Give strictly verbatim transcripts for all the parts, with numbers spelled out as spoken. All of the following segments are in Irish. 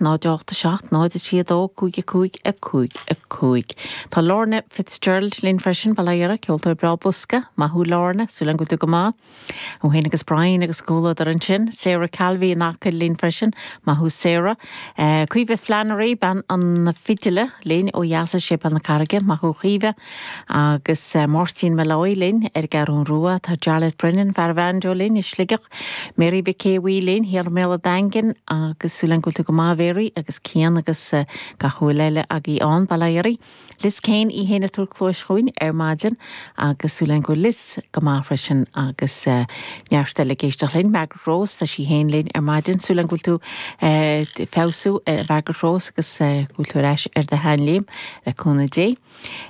náid ocht a seacht náid a trí a dó cúig a cúig a cúig a cúig. Tá Lorna Fitzgerald linn freisin bail ó Dhia uirthi ceoltóir breá bosca, maith thú Lorna, súil agam go bhfuil tú go maith. Ó héin agus Brian agus comhluadar ansin, Sarah Calvi in Acaill linn freisin, maith thú Sarah. Uh, Caoimhe Flannery bean an fidile linn ó dheas as Séipéal na Carraige, maith thú Caoimhe agus uh, Máirtín Molloy linn ar an gCeathrú Rua, tá Jarlath Brennan fear banjo linn i Sligeach, Mary Mhic linn thiar i mBéal an Daingin agus súil agam go bhfuil tú go maith Mary agus Cian agus uh, gach éinne eile agaibh ann bail ó Dhia oraibh. Liz Kane í héna túr clóis chuin ar maidin agus súil agam go bhfuil Liz go maith freisin agus uh, neart eile ag éisteacht linn Margaret Rose tá sí héin linn ar maidin súil agam go bhfuil tú uh, feabhsú uh, Margaret Rose agus uh, go bhfuil tú ar ais ar do sheanchéim le cúnamh Dé.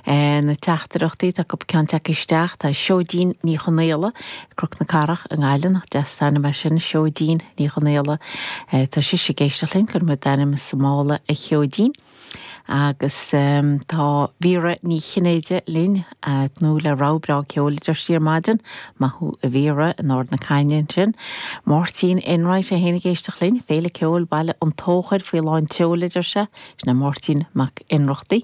Uh, na teachtaireachtaí tá cúpla ceann tagtha isteach tá Seoidín Ní Chonaola Cnoc na Cathrach i nGaillimh nach deas an t-ainm é sin Seoidín Ní Chonaola uh, tá sí ag éisteacht linn cuir mu d'ainm sa mála a Sheoidín. agus um, tá Vera Ní Chinnéide linn nó le rábrá ceol siar maidin maith thú a Vera in Ard na Caithne sin. Máirtín Enright a héna géisteach linn, féile ceol baile an tóchair faoi lán tseoil sé sin na Máirtín Mac Inrochtaí.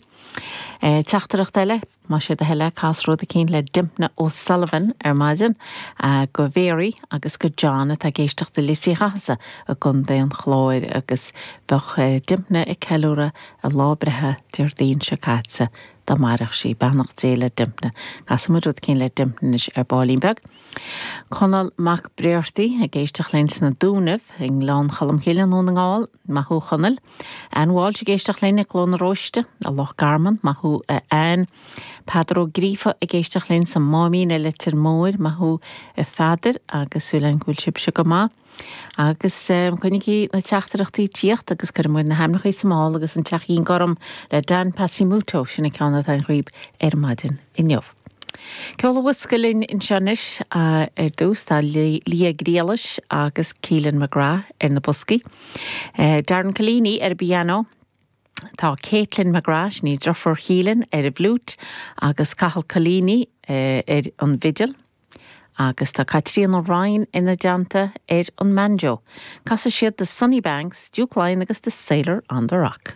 E, Teachtaireacht eile má sé de heile casró a cín le Dympna O'Sullivan ar maidin go Mary agus go John atá ag éisteacht i Lios Uí Chathasaigh i gContae an Chláir agus bheadh Dympna ag ceiliúradh a lá breithe Déardaoin seo caite dá mairfeadh sí beannacht Dé le Dympna. Casfaidh muid rud éicint le Dympna anois ar baillín beag. Conall Mac Bréartaí ag éisteacht linn sna Dúnaibh i nGleann Cholm Cille i nDún na nGall maith thú Chonaill. Ann Walsh ag éisteacht linn i gCló na Róiste a Loch Garman maith thú Ann. Peadar Ó Gríofa ag éisteacht linn sa Máimín i Leitir Móir maith thú a Pheadair agus súil agam go bhfuil sibhse go maith. Agus um, coinnígí na teachtaireachtaí ag tíocht agus cuirfidh muid na hainmneacha sa mála agus an Teachín Gorm le Dan Pasimoto sin an ceann atá agaibh ar maidin inniu. Ceol an bhosca linn anseo anois ar dtús tá Lia Griallais agus Keelan McGrath ar na boscaí. Uh, Darren Collini ar piano, Tá Caitlin McGrath ní deirfiúr Keelan ar an bhfliúit agus Cathal Collini uh, ar an bhfidil. agus tá Caitríona Ryan ina dteannta ar an mbanjo. Casfaidh siad The Sunny Banks, Duke Lyon agus The Sailor on the Rock.